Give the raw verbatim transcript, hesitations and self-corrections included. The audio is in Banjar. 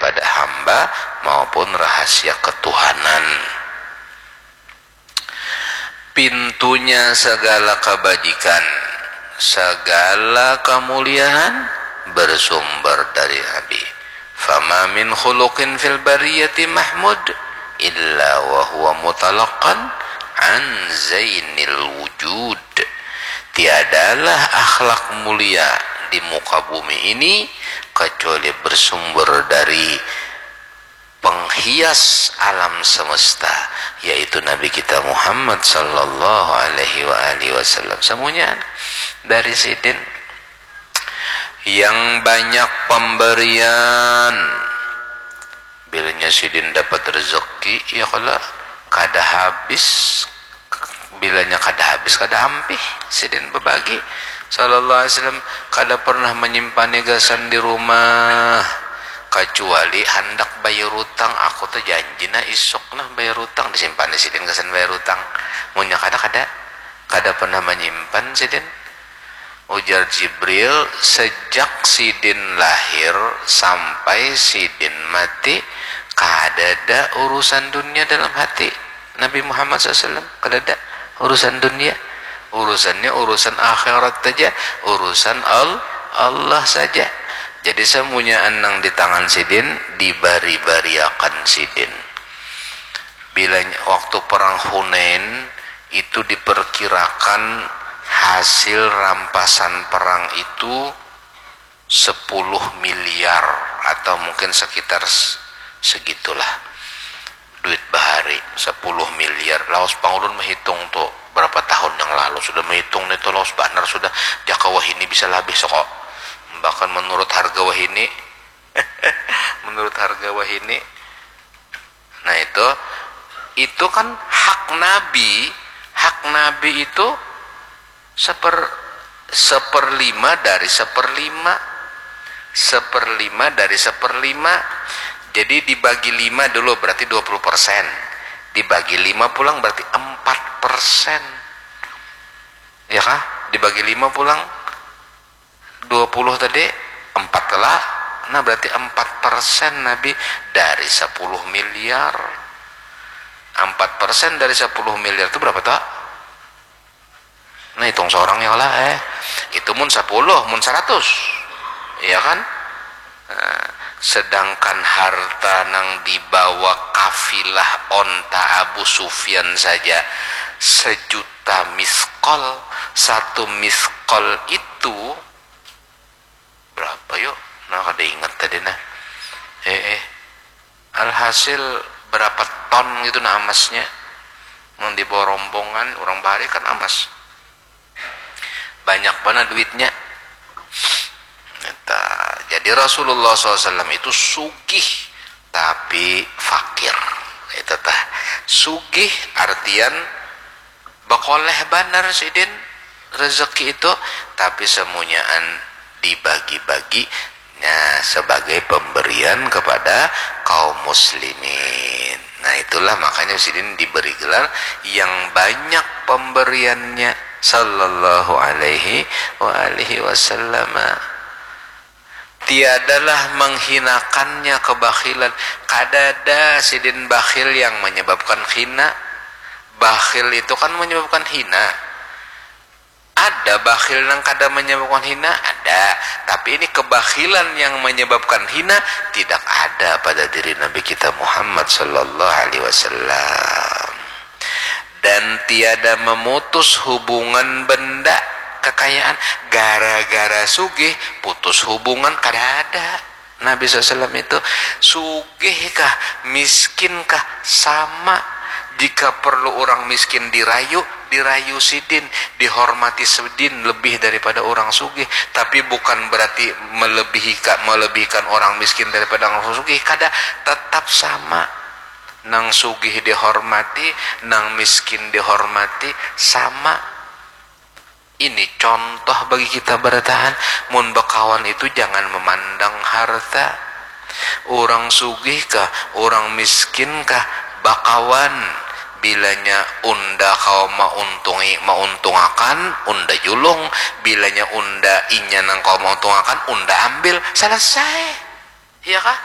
pada hamba maupun rahasia ketuhanan. Pintunya segala kebajikan, segala kemuliaan bersumber dari Nabi. Fama min khuluqin fil bariyati mahmud illa wa huwa mutalaqan an zainil wujud. Tiadalah akhlak mulia di muka bumi ini kecuali bersumber dari penghias alam semesta, yaitu Nabi kita Muhammad sallallahu alaihi wa alihi wasallam. Semuanya dari sidin yang banyak pemberian. Bilanya sidin dapat rezeki, ya kala kada habis, bilanya kada habis kada ampih sidin bebagi. Sallallahu alaihi wasallam kada pernah menyimpan gasan di rumah, kecuali handak bayar utang. Aku tuh janji nah isuk nah bayar utang, disimpan di sidin gasan bayar utang. Munya kada, kada, kada pernah menyimpan sidin. Ujar Jibril, sejak sidin lahir sampai sidin mati, kadada urusan dunia dalam hati Nabi Muhammad sallallahu alaihi wasallam. Kadada urusan dunia. Urusannya urusan akhirat saja, urusan Al Allah saja. Jadi semuanya nang di tangan sidin dibari-bariakan sidin. Bilanya waktu perang Hunain itu diperkirakan hasil rampasan perang itu sepuluh miliar atau mungkin sekitar segitulah duit bahari, sepuluh miliar. Laos pangulun menghitung tuh berapa tahun yang lalu, sudah menghitung nih tuh laos banar sudah, jaka wahini bisa labih soko. Bahkan menurut harga wahini menurut harga wahini. Nah itu, itu kan hak Nabi, hak Nabi itu seper seperlima dari seperlima, seperlima dari seperlima. Jadi dibagi lima dulu berarti dua puluh persen, dibagi lima pulang berarti empat persen, ya kah? Dibagi lima pulang dua puluh tadi, empat lah. Nah berarti empat persen Nabi dari sepuluh miliar. Empat persen dari sepuluh miliar itu berapa tuh? Nah hitung seorang ya lah eh. Itu mun sepuluh, mun seratus. Iya kan? Nah, sedangkan harta nang dibawa kafilah onta Abu Sufyan saja sejuta miskol. Satu miskol itu berapa yuk? Nah kada ingat tadi nah. Eh eh. Alhasil berapa ton gitu nah amasnya. Mun dibawa rombongan orang bahari kan amas. Banyak mana duitnya. Nah, jadi Rasulullah sallallahu alaihi wasallam itu sugih tapi fakir. Itu tah. Sugih artian bekoleh banar sidin rezeki itu, tapi semunyaan dibagi-bagi, nah, sebagai pemberian kepada kaum muslimin. Nah itulah makanya sidin diberi gelar yang banyak pemberiannya sallallahu alaihi wa alihi wasallam. Tiadalah menghinakannya kebakhilan. Kadada sidin bakhil yang menyebabkan khina. Bakhil itu kan menyebabkan hina. Ada bakhil nang kada menyebabkan hina, ada. Tapi ini kebakhilan yang menyebabkan hina tidak ada pada diri Nabi kita Muhammad sallallahu alaihi wasallam. Dan tiada memutus hubungan benda kekayaan gara-gara sugih putus hubungan kada ada. Nabi sallallahu alaihi wasallam itu sugih kah, miskin kah, sama. Jika perlu orang miskin dirayu, dirayu sidin, dihormati sidin lebih daripada orang sugih. Tapi bukan berarti melebihi melebihkan orang miskin daripada orang sugih, kada, tetap sama. Nang sugih dihormati, nang miskin dihormati, sama. Ini contoh bagi kita barataan, mun bakawan itu jangan memandang harta. Urang sugih kah, urang miskin kah, bakawan. Bilanya unda kawa mauntungi, mauntungakan, unda julung. Bilanya unda inya nang kawa mauntungakan, unda ambil. Selesai. Iya kah?